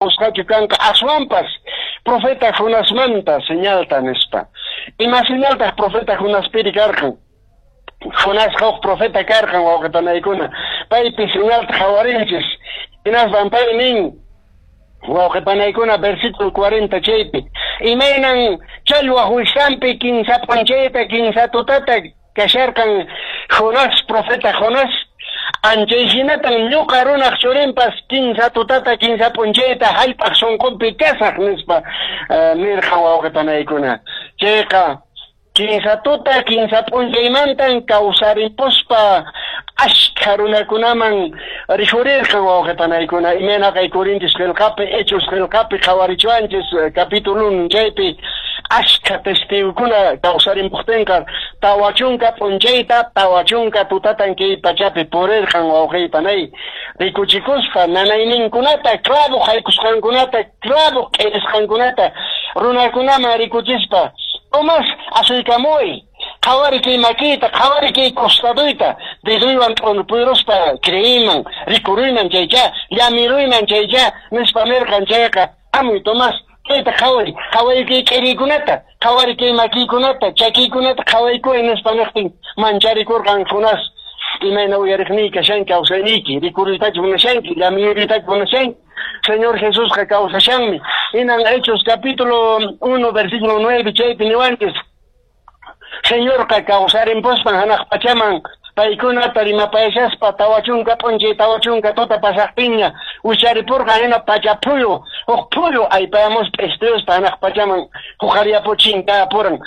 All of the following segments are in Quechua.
Qusqachu kanqa aswanpas profeta Jonasmanta señalta, nispa. Ima señaltaq profeta Jonaspiri karqan? Jonasqa huk profeta karqan, wawqe panaykuna. Paypi señalta qhawarinchis. Hinaspan pay nin, wawqe panaykuna, versículo 40 chaypi: Imaynan challwaq wiksanpi kinsa p'unchayta kinsa tutata kasharqan Jonás, profeta Jonás, anchay hinatan ñuqa runaq churinpas kinsa tutata kinsa p'unchayta hallp'aq sunqunpi kasaq, nispa nirqan, wawqe panaykuna. Chayqa kinsa tuta kinsa p'unchaymantan kawsarimpuspa ashkha runakunaman rikhurirqan, wawqe panaykuna. Imayna kay Corintios qillqapi, Hechos qillqapi qhawarichuanchis capítulo 1 chaypi ashkha testigokuna kawsarimpuqtinqa 40 p'unchayta 40 tutatan kay pachapi purirqan, wawqey panay, rikuchikuspa nanayninkunata, clavo haykusqankunata, clavo k'irisqankunata runakunaman rikuchispa: "Tomás, asuykamuy, qhawari kay makiyta, qhawari kay costaduyta, deduywan t'unpuruspa creeyman, rikuruyman chaycha, llamiruyman chaycha", nispa nirqan. Chayqa, "Hamuy, Tomás, kayta qhawari, qhawari kay k'iriykunata, qhawari kay makiykunata, chakiykunata qhawaykuy", nispa niqtin mancharikurqan Jonás. Imayna, uyariqniy, kashanki kawsayniyki? Rikuruytachu munashanki? Llamiyuruytachu munashanki? Señor Jesusqa kawsashanmi. Hinan Hechos capítulo 1 versículo 9 chaypi niwanchis: Señorqa kawsarimpuspan hanaq pachaman paykunata rimapayashaspa 40 p'unchay 40 tuta pasaqtinña wicharipurqan. Hina pacha phuyu, huk phuyu aypayamuspa p'istuyuspa hanaq pachaman huqariyapuchin kapuran.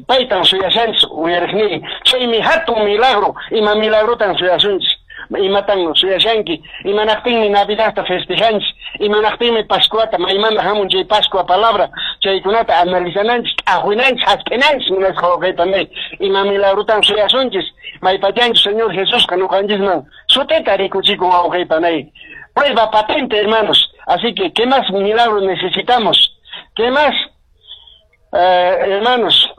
Paytan suyashanchis, uyariqniy. Chaymi hatun milagro. Ima milagrotan suyasunchis? Imatan suyashanki? Imanaqtinmi Navidadta festejanchis? Imanaqtinmi Pascuata? Maymanta hamun chay Pascua palabra? Chaykunata analizananchis, t'aqwinanchis, hasp'inanchis, munasqa wawqey panay. Ima milagrotan suyasunchis? Maypachanchus Señor Jesusqa ñuqanchisman sutita rikuchikun, wawqey panay. Prueba patente, hermanos. Así que, ¿qué más milagro necesitamos? ¿Qué más, hermanos?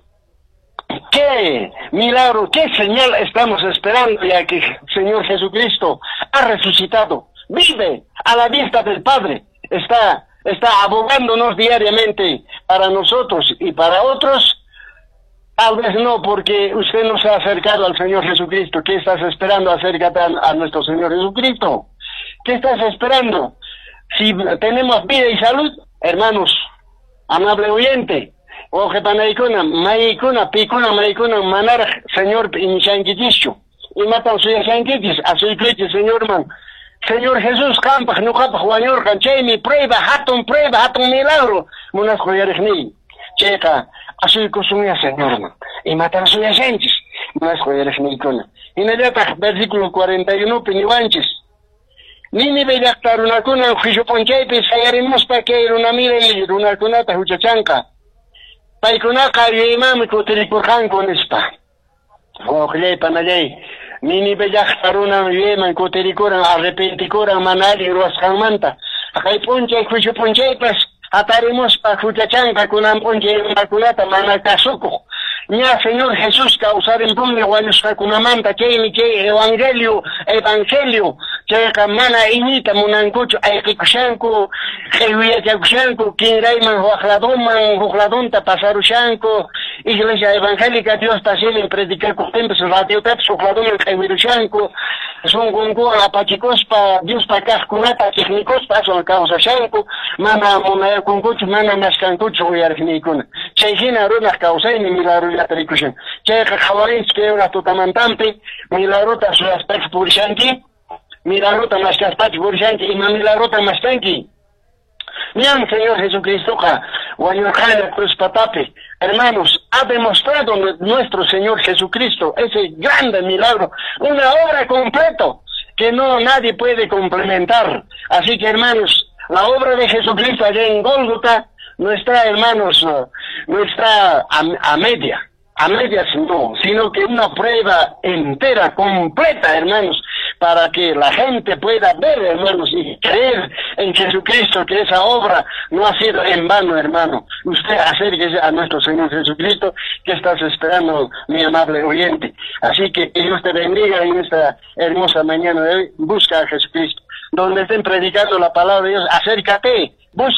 ¿Qué milagro, qué señal estamos esperando, ya que Señor Jesucristo ha resucitado, vive a la vista del Padre, está abogándonos diariamente para nosotros y para otros? Tal vez no, porque usted no se ha acercado al Señor Jesucristo. ¿Qué estás esperando? Acércate a nuestro Señor Jesucristo. ¿Qué estás esperando? Si tenemos vida y salud, hermanos, amable oyente, wawqe panaykuna, maykuna, pikuna, maykuna manaraq Señorpi iñishankichischu, imatan suyashankichis? Asuykuychis Señorman. Señor Jesús qampaq ñuqapaq wañurqan. Chaymi prueba, hatun prueba, hatun milagro, munasqa uyariqniy. Chayqa asuykusunya Señorman. Imatan suyashanchis, munasqa uyariqniykuna? Hinallataq versículo 41 pi niwanchis: Nínive llaqta runakuna juicio p'unchaypi sayarimuspa kay runamiray runakunata huchachanqa. Paykunaqa yuyaymanmi kutirikurqanku, nispa. Wawqillay, panallay, Nínive llaqta runan yuyayman kutirikuran, arrepentikuran mana allin ruwasqanmanta. Kay p'unchay juicio p'unchaypas hatarimuspa huchachanqa kunan p'unchay runakunata mana kasukuq. Ña Señor Jesús kawsarimpunmi wañusqakunamanta, chaymi chay evangelio chayqa mana iñiyta munankuchu, ayqikushanku, q'iwiyachakushanku, kinrayman waq ladoman, huk ladonta pasarushanku. Iglesia evangélica Diospa simin predicakuqtinpis radiotapis huk ladoman q'iwirushanku, sunqunkuwan apachikuspa Diospa kaqkunata chiqnikuspa aswan kawsashanku, mana munayakunkuchu, mana maskankuchu, uyariqniykuna. Chay hina runaq kawsaymi milagrollata rikushan. Chayqa qhawarinchis kay hora tutamantampi: milagrota suyaspachu purishanki? Milagrota maskaspachu purishanki? Ima milagrota maskanki? Ñan Señor Jesucristoqa wañurqana cruz patapi. Hermanos, ha demostrado nuestro Señor Jesucristo ese grande milagro, una obra completo que no nadie puede complementar. Así que, hermanos, la obra de Jesucristo allá en Gólgota no está, hermanos, no está a medias no, sino que una prueba entera, completa, hermanos, para que la gente pueda ver, hermanos, y creer en Jesucristo, que esa obra no ha sido en vano, hermano. Usted acérquese a nuestro Señor Jesucristo. ¿Que estás esperando, mi amable oyente? Así que Dios te bendiga en esta hermosa mañana de hoy. Busca a Jesucristo. Donde estén predicando la palabra de Dios, acércate.